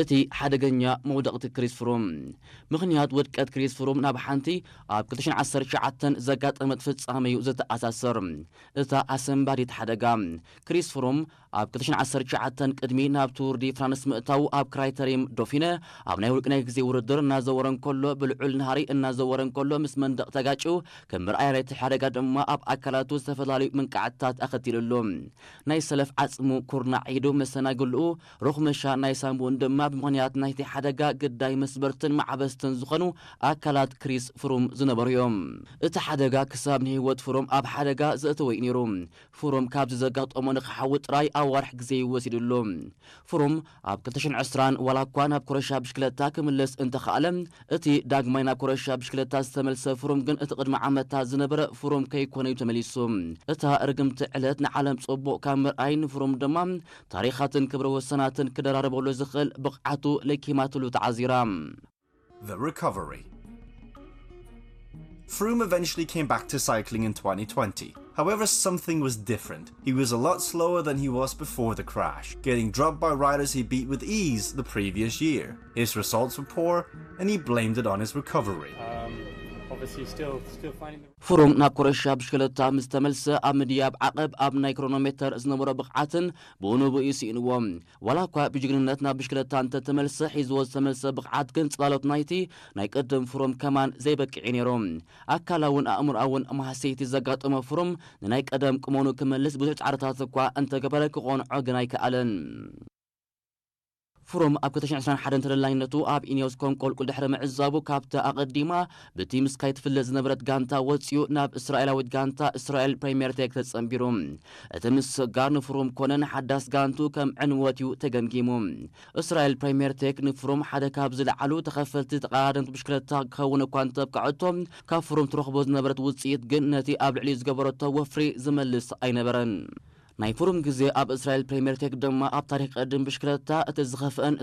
እቲ ሓደገኛ መውደቕቲ ክሪስ ፍሩም። ምኽንያት ውድቀት ክሪስ ፍሩም ናብ ሓንቲ ኣብ ክልተ ሽሕን ዓሰርተ ትሽዓተን ዘጋጠመት ፍጻመ እዩ ዝተኣሳሰር። እታ ኣሰንባዲት ሓደጋ። ክሪስ ፍሩም ኣብ ክልተ ሽሕን ዓሰርተ ትሽዓተን ቅድሚ ናብ ቱር ዲ ፍራንስ ምእታው ኣብ ክራይተሪም ዶፊነ ኣብ ናይ ውልቂ ናይ ግዜ ውድድር እናዘወረ እንከሎ፣ ብልዑል ናህሪ እናዘወረ እንከሎ ምስ መንደቕ ተጋጭዩ ከም መርኣያ ናይቲ ሓደጋ ድማ ኣብ ኣካላቱ ዝተፈላለዩ ምንቃዕታት ኣኸቲሉሉ። ናይ ሰለፍ ዓጽሙ ኩርናዕ ኢዱ መሰናግልኡ ሮኽመሻ ናይ ሳምቡእን ድማ ብምኽንያት ናይቲ ሓደጋ ግዳይ መስበርትን ማዕበስትን ዝኾኑ ኣካላት ክሪስ ፍሩም ዝነበሩ እዮም። እቲ ሓደጋ ክሳብ ንህይወት ፍሩም ኣብ ሓደጋ ዘእተወ እዩ ነይሩ። ፍሩም ካብዚ ዘጋጠሞ ንክሓዊ ጥራይ ኣዋርሕ ግዜ እዩ ወሲድሉ። ፍሩም ኣብ ክልተ ሽሕን ዕስራን ዋላ እኳ ናብ ኮረሻ ብሽክለታ ክምለስ እንተኸኣለ፣ እቲ ዳግማይ ናብ ኮረሻ ብሽክለታ ዝተመልሰ ፍሩም ግን እቲ ቅድሚ ዓመታት ዝነበረ ፍሩም ከይኮነ እዩ ተመሊሱ። እታ ርግምቲ ዕለት ንዓለም ጽቡቕ ካብ ምርኣይ ንፍሩም ድማ ታሪኻትን ክብረ ወሰናትን ክደራረበሉ ዝኽእል ብቕዓቱ ለኪማትሉ ተዓዚራ። The recovery. Froome eventually came back to cycling in twenty twenty. However, something was different. He was a lot slower than he was before the crash, getting dropped by riders he beat with ease the previous year. His results were poor, and he blamed it on his recovery. Um, obviously, still still finding the ፍሩም ናብ ኮረሻ ብሽክለታ ምስ ተመልሰ ኣብ ምድያብ ዓቐብ ኣብ ናይ ክሮኖሜተር ዝነበሮ ብቕዓትን ብኡ ንብኡ እዩ ስኢንዎ። ዋላ እኳ ብጅግንነት ናብ ብሽክለታ እንተተመልሰ ሒዝዎ ዝተመልሰ ብቕዓት ግን ጽላሎት ናይቲ ናይ ቅድም ፍሩም ከማን ዘይበቅዕ እዩ ነይሩ። ኣካላውን ኣእምሮኣውን ማህሰይቲ ዘጋጠመ ፍሩም ንናይ ቀደም ቁመኑ ክመልስ ብዙሕ ጻዕርታት እኳ እንተገበረ ክቖንዖ ግን ኣይከኣለን። ፍሩም ኣብ ክልተ ሽሕን ዕስራን ሓደን ተደላይነቱ ኣብ ኢኒዮስ ኮንቆልቁል ድሕሪ ምዕዛቡ ካብታ ኣቐዲማ ብቲም ስካይ ትፍለጥ ዝነበረት ጋንታ ወጺኡ ናብ እስራኤላዊት ጋንታ እስራኤል ፕሪምየር ቴክ ተጸንቢሩ። እቲ ምስጋር ንፍሩም ኮነ ንሓዳስ ጋንቱ ከም ዕንወት እዩ ተገምጊሙ። እስራኤል ፕሪምየር ቴክ ንፍሩም ሓደ ካብ ዝለዓሉ ተኸፈልቲ ተቐዳደምቲ ብሽክለታ ክኸውን እኳ እንተብቅዐቶ ካብ ፍሩም ትረኽቦ ዝነበረት ውጽኢት ግን ነቲ ኣብ ልዕሊኡ ዝገበረቶ ወፍሪ ዝመልስ ኣይነበረን። ናይ ፍሩም ግዜ ኣብ እስራኤል ፕሪምየር ቴክ ድማ ኣብ ታሪክ ቅድም ብሽክለታ እቲ ዝኸፍአን